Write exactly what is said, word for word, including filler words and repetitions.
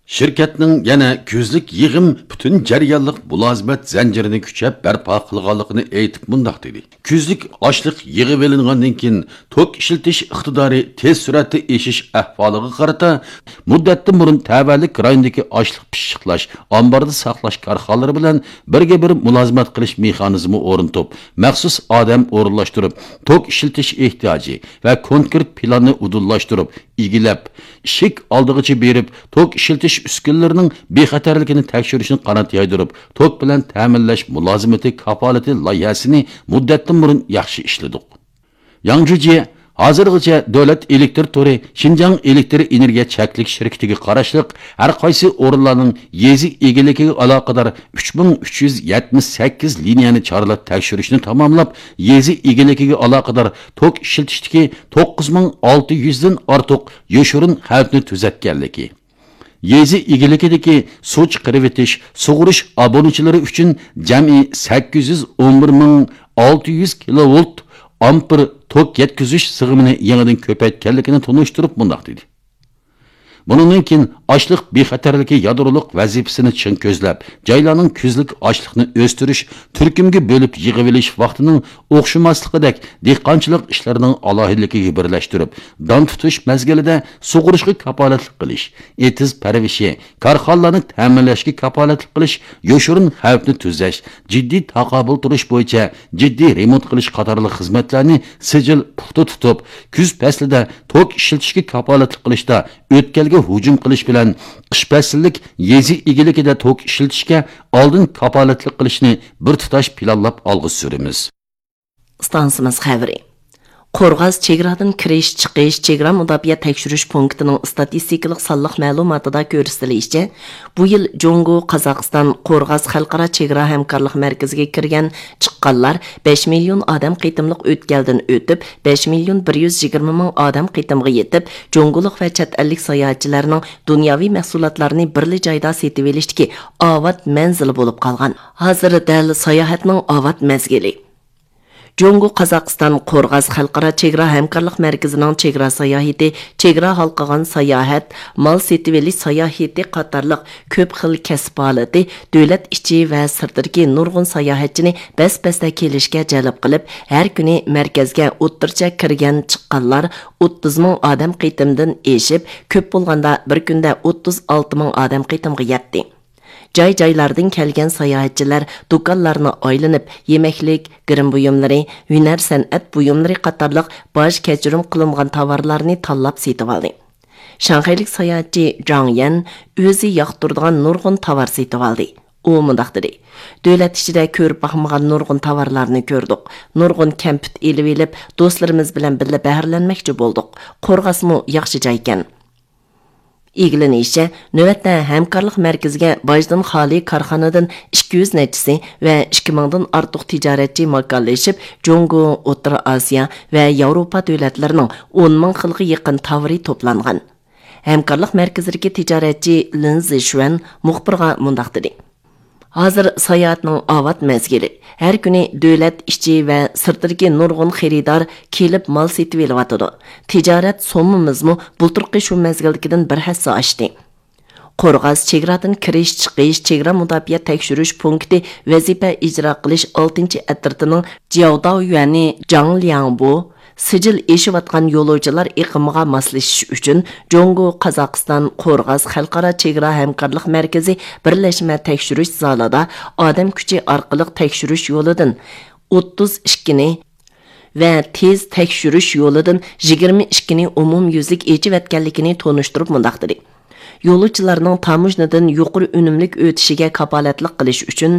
شىركەتنىڭ يەنە كۈزلۈك يىغىم پۈتۈن جەريانلىق مۇلازىمەت زەنجىرىنى كۈچەپ بەرپا قىلغانلىقىنى ئېيتىپ مۇنداق دېدى: كۈزلۈك ئاشلىق يىغىۋېلىنغاندىن كېيىن، توك ئىشلىتىش ئىقتىدارى تېز سۈرئەتتە ئېشىش ئەھۋالىغا قارىتا، مۇددەتتىن بۇرۇن تەۋەلىك رايونىدىكى ئاشلىق پىششىقلاش، ئامباردا ساقلاش كارخانىلىرى بىلەن بىرگە بىر مۇلازىمەت قىلىش مېخانىزمى ئورنىتىپ، مەخسۇس ئادەم ئورۇنلاشتۇرۇپ، توك ئىشلىتىش ئېھتىياجى ۋە كونكرېت پىلاننى ئۇدۇللاشتۇرۇپ، ئىگىلەپ، ئىشىك ئالدىغىچە بېرىپ، توك ئىشلىتىش ئۈسكۈنىلىرىنىڭ بىخەتەرلىكىنى تەكشۈرۈشنى قانات يايدۇرۇپ، توك بىلەن تەمىنلەش مۇلازىمىتى كاپالىتى لايىھەسىنى مۇددەتتىن بۇرۇن ياخشى ئىشلىدۇق. ياڭ جۇجيې ھازىرغىچە دۆلەت ئېلېكتر تورى شىنجاڭ ئېلېكتر ئېنېرگىيە چەكلىك شىركىتىگە قاراشلىق ھەر قايسى ئورۇنلارنىڭ يېزا ئىگىلىكىگە ئالاقىدار ئۈچ مىڭ ئۈچ يۈز يەتمىش سەككىز لىنىيەنى چارلاپ تەكشۈرۈشنى تاماملاپ، يېزا ئىگىلىكىگە ئالاقىدار توك ئىشلىتىشتىكى توققۇز مىڭ ئالتە يۈزدىن ئارتۇق يوشۇرۇن خەۋپنى تۈزەتكەنلىكى، يېزا ئىگىلىكىدىكى سۇ چىقىرىۋېتىش، سۇغۇرۇش ئابۇنىچىلىرى ئۈچۈن جەمئىي سەككىز يۈز ئون بىر مىڭ ئالتە يۈز كىلوۋولت ئامپېر توك يەتكۈزۈش سىغىمىنى يېڭىدىن كۆپەيتكەنلىكىنى تونۇشتۇرۇپ مۇنداق دېدى: بۇنىڭدىن كېيىن ئاشلىق بىخەتەرلىكى يادرولۇق ۋەزىپىسىنى چىڭ كۆزلەپ، جايلارنىڭ كۈزلۈك ئاشلىقنى ئۆستۈرۈش، تۈركۈمگە بۆلۈپ يىغىۋېلىش ۋاقتىنىڭ ئوخشىماسلىقىدەك، دېھقانچىلىق ئىشلىرىنىڭ ئالاھىدىلىكىگە بىرلەشتۈرۈپ، دان تۇتۇش مەزگىلىدە سۇغۇرۇشقا كاپالەتلىك قىلىش، ئېتىز پەرۋىشى، كارخانىلارنى تەمىنلەشكە كاپالەتلىك قىلىش، يوشۇرۇن خەۋپنى تۈزەش، جىددىي تاقابىل تۇرۇش بويىچە جىددىي رېمونت قىلىش قاتارلىق خىزمەتلەرنى سىجىل پۇختا تۇتۇپ، كۈز پەسلىدە توك ئىشلىتىشكە كاپالەتلىك قىلىشتا ئۆتكەلگە ھۇجۇم قىلىش بىلەن قىش پەسىللىك يېزا ئىگىلىكىدە توك ئىشلىتىشكە ئالدىن كاپالەتلىك قىلىشنى بىر تۇتاش پىلانلاپ ئالغا سۈرىمىز. ئىستانسىمىز خەۋىرى. قورغاس چېگرادىن كىرىش، چىقىش، چېگرا مۇداپىئە تەكشۈرۈش پونكىتىنىڭ ئىستاتىستىكىلىق سانلىق مەلۇماتىدا كۆرسىتىلىشىچە، بۇ يىل جۇڭگو، قازاقىستان، قورغاس خەلقئارا چېگرا ھەمكارلىق مەركىزىگە كىرگەن، چىققانلار بەش مىليون ئادەم قېتىملىق ئۆتكەلدىن ئۆتۈپ، بەش مىليون بىر يۈز يىگىرمە مىڭ ئادەم قېتىمغا يېتىپ، جۇڭگولۇق ۋە چەت ئەللىك ساياھەتچىلەرنىڭ دۇنياۋى مەھسۇلاتلارنى بىرلا جايدا سېتىۋېلىشتىكى ئاۋات مەنزىلى بولۇپ قالغان. ھازىر دەل ساياھەتنىڭ ئاۋات مەزگىلى. جۇڭگو، قازاقىستان، قورغاس خەلقئارا چېگرا ھەمكارلىق مەركىزىنىڭ چېگرا ساياھىتى، چېگرا ھالقىغان ساياھەت، مال سېتىۋېلىش ساياھىتى قاتارلىق كۆپ خىل كەسىپ ھالىتى دۆلەت ئىچى ۋە سىرتىدىكى نۇرغۇن ساياھەتچىنى بەس-بەستە كېلىشكە جەلپ قىلىپ، ھەر كۈنى مەركەزگە ئوتتۇرىچە كىرگەن، چىققانلار ئوتتۇز مىڭ ئادەم قېتىمدىن ئېشىپ، كۆپ بولغاندا بىر كۈندە ئوتتۇز ئالتە مىڭ ئادەم قېتىمغا يەتتى. جاي-جايلاردىن كەلگەن ساياھەتچىلەر دۇكانلارنى ئايلىنىپ، يېمەكلىك، گىرىم بۇيۇملىرى، ھۈنەر-سەنئەت بۇيۇملىرى قاتارلىق باج كەچۈرۈم قىلىنغان تاۋارلارنى تاللاپ سېتىۋالدى. شاڭخەيلىك ساياھەتچى جاڭ يەن ئۆزى ياقتۇرىدىغان نۇرغۇن تاۋار سېتىۋالدى. ئۇ مۇنداق دېدى: دۆلەت ئىچىدە كۆرۈپ باقمىغان نۇرغۇن تاۋارلارنى كۆردۇق. نۇرغۇن كەمپۈت ئېلىۋېلىپ، دوستلىرىمىز بىلەن بىللە بەھرىلەنمەكچى بولدۇق. قورغاسمۇ ياخشى جايكەن. ئىگىلىنىشىچە، نۆۋەتتە ھەمكارلىق مەركىزىگە باجدىن خالىي كارخانىدىن ئىككى يۈز نەچچىسى ۋە ئىككى مىڭدىن ئارتۇق تىجارەتچى ماكانلىشىپ، جۇڭگو، ئوتتۇرا ئاسىيا ۋە ياۋروپا دۆلەتلىرىنىڭ ئون مىڭ خىلغا يېقىن تاۋىرى توپلانغان. ھەمكارلىق مەركىزىدىكى تىجارەتچى لىن زىشۈەن مۇخبىرغا مۇنداق دېدى: ھازىر ساياھەتنىڭ ئاۋات مەزگىلى. ھەر كۈنى دۆلەت ئىچى ۋە سىرتىدىكى نۇرغۇن خېرىدار كېلىپ مال سېتىۋېلىۋاتىدۇ. تىجارەت سوممىمىزمۇ بۇلتۇرقى شۇ مەزگىلدىكىدىن بىر ھەسسە ئاشتى. قورغاس چېگرادىن كىرىش، چىقىش، چېگرا مۇداپىئە تەكشۈرۈش پونكىتى ۋەزىپە ئىجرا قىلىش ئالتىنچى ئەترىتىنىڭ جياۋداۋيۈەنى جاڭ لياڭبۇ، سىجىل ئېشىۋاتقان يولۇچىلار ئېقىمىغا ماسلىشىش ئۈچۈن، جۇڭگو، قازاقىستان، قورغاس خەلقئارا چېگرا ھەمكارلىق مەركىزى بىرلەشمە تەكشۈرۈش زالىدا ئادەم كۈچى ئارقىلىق تەكشۈرۈش يولىدىن ئوتتۇز ئىككىنى ۋە تېز تەكشۈرۈش يولىدىن يىگىرمە ئىككىنى ئومۇميۈزلۈك ئېچىۋەتكەنلىكىنى تونۇشتۇرۇپ مۇنداق دېدى: يولۇچىلارنىڭ تاموژنىدىن يۇقىرى ئۈنۈملۈك ئۆتۈشىگە كاپالەتلىك قىلىش ئۈچۈن،